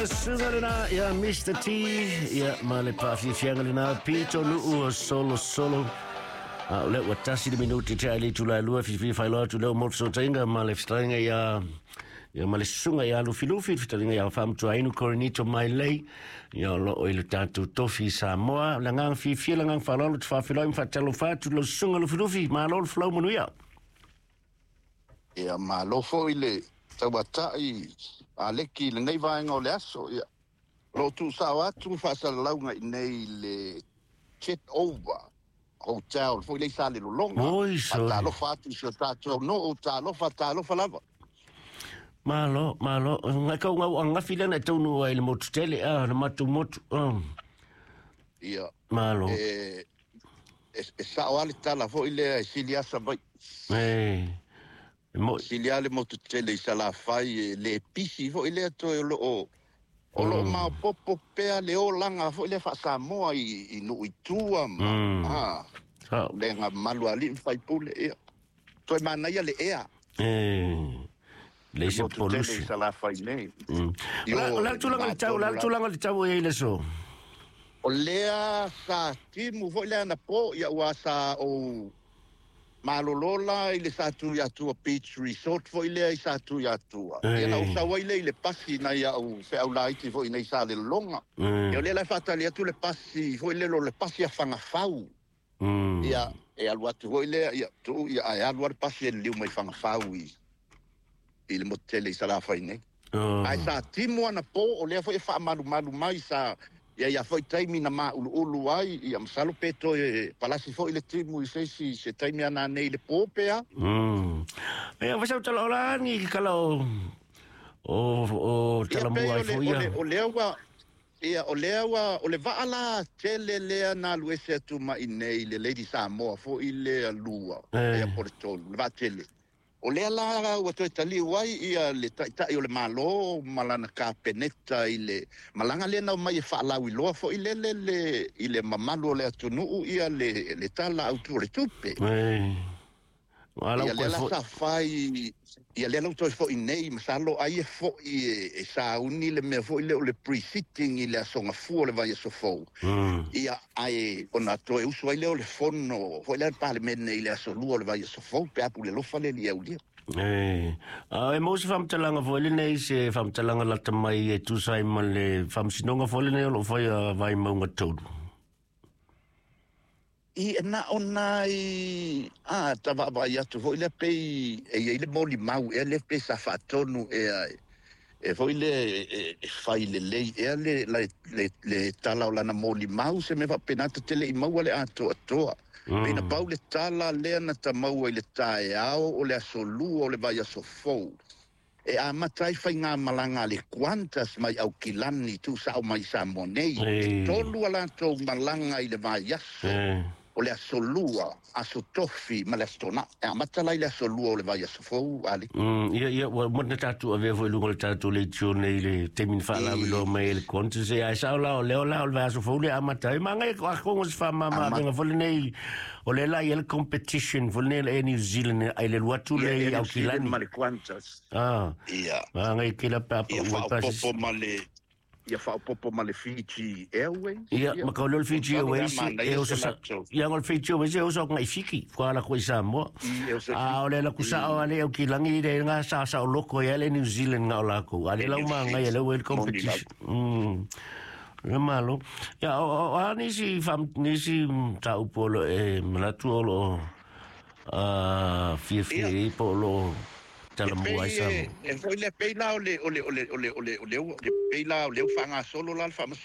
Le suga lena ia Mr. T, ia ma le paafiafiaga lena pito nuu o solo solo. A o lea ua 1 le minuti tea i le itula e 2, filifili faailoa atu lea ua mo le fesootaiga ma le fetalaiga ia ia ma le susuga ia Lufilufi, le fetalaiga ia Faamatuainu Korinito Mailei, ia o loo i le tatou tofi i Samoa. Le agaga fiafia, le agaga faaaloalo, te faafeiloai ma faatalofa atu lau susuga Lufilufi, malo le folau manuia. Ia malo foi le tauatai Aleki i lenei vaega o le aso. Ia, o lo o tuusao atu faasalalauga i nei i le Jet Over Hotel foi lea i Salelologa. Oi, sorry. Faatalofa atu i si o tatou nuu, talofa, talofa lava. Malo, malo. Ngai kau ngau angafi lea na e taunuu ai i le motu tele, a, le matou motu. Oh. Ia, Malo. E sao lava le tala foi lea e sili asa mai. E, e moi. Sili lava le motu tele i Salafai e le pisi foi lea toe o loo maopoopo pea le olaga foi lea faa-Samoa i nuu i tua ma lega mamalu a alii ma faipule. Ia, toe manaia le ea. E, le se motu tele i pollution. Salafai nei. O la tulaga le tau, la tulaga le tau e ai le so. O lea sa timu foi lea na po, ia ua sa ou malolo la i le Satuiatua Beach Resort foi lea i Satuiatua. Ia na ou sau ai lea i le pasi nai au feau laiti foi nei Salelologa. Ia o lea la e faatali atu le pasi foi lea o le pasi a Fagafau. Ia e alu atu foi lea, ia tuu ia ae alu lava le pasi e liliu mai Fagafau i le motu tele i Salafai nei. Ae sa timu ana po, o lea foi e faamalumalu mai sa ia ia foi taimi na mauluulu ai, ia masalo pe toe palasi foi le timu i se isi se taimi ana nei le po pea. Ia, fasau tala o la ni kala o Ia tala pei mua o ai le foi o ia. le o lea ua ia o lea ua o le vaa la tele lea na alu ese atu mai nei le Lady Samoa foi lea lua ia po le tolu le vaa tele. O lea la ua toe taliu ai ia le taitai o le Malo ma lana kapeneta i le malaga lea na omai e faalauiloa foi lele le i le mamalu o le atunuu ia le tala autu o le tupe. Ala Ia koe lea la foi. sa fai, ia lea la ua toe foi nei, masalo ai e foi e sauni le mea foi lea o le pre-sitting i le aso Gafua o le vaiaso fou. Ia ae ona toe usu ai lea o le fono foi lea le Palemene i le aso Lua o le vaiaso fou pe a pule alofa le Alii e aulia. E, a e mo se faamatalaga foi lenei, se faamatalaga lata mai e tusa ai ma le faamasinoga foi lenei o loo fai a Vaimauga 3. I na o nai a tavaavaai atu foi lea pei e iai le molimau ea lea pe sa faatonu ea e foi lea e fai lelei ea le tala o lana molimau se mea faapena tetele i maua le atoatoa. Pei na pau le tala lea na tamaua i le taeao o le aso Lua o le vaiaso fou. E amata ai faigamalaga a le Qantas mai Aukilani tuusao mai Samoa nei. E 3 a latou malaga i le vaiaso. O le aso Lua, aso Tofi ma le aso Toonai. E amata la i le aso Lua o le vaiaso fou, Ali. Ia, ia, ua mana tatou avea foi i luga o le tatou leitio nei le taimi na faalauiloa mai ai le Qantas. E ai sao la o lea o la o le vaiaso fou le amata ai. Magai a kongo se faamama avega foi lenei, o lea la i ai le competition foi lenei le Air New Zealand ai le alu atu Ia le Air New Zealand Aukilani. ma le Qantas. Ia. Magai ke la pa Ia pa ua pa faaopoopo ma le ia faaopoopo ma le Fiji Airways. Ia, Ia. ma ka o lea o le Fiji Masalo le Airways, e manaia oso se sa, latou. ia ngo le Fiji Airways e oso ngai Fiki, kwa ala koe i Samoa. I e oso A o le la kusa o ale au kilangi le ngā sa sa o loko ia le New Zealand ngā o lako. A le E lau New maa ngai le Zealand. wel Moni lau. competition. Le malo. Ia, o a nisi, fam, nisi ta upo lo e malatu o lo a fia fia Ia. i po lo E tala mua ai pei e Samoa. e foi le pei la o le o le o le o le o le o le o le pei la o le faagasolo la le faamasinoga.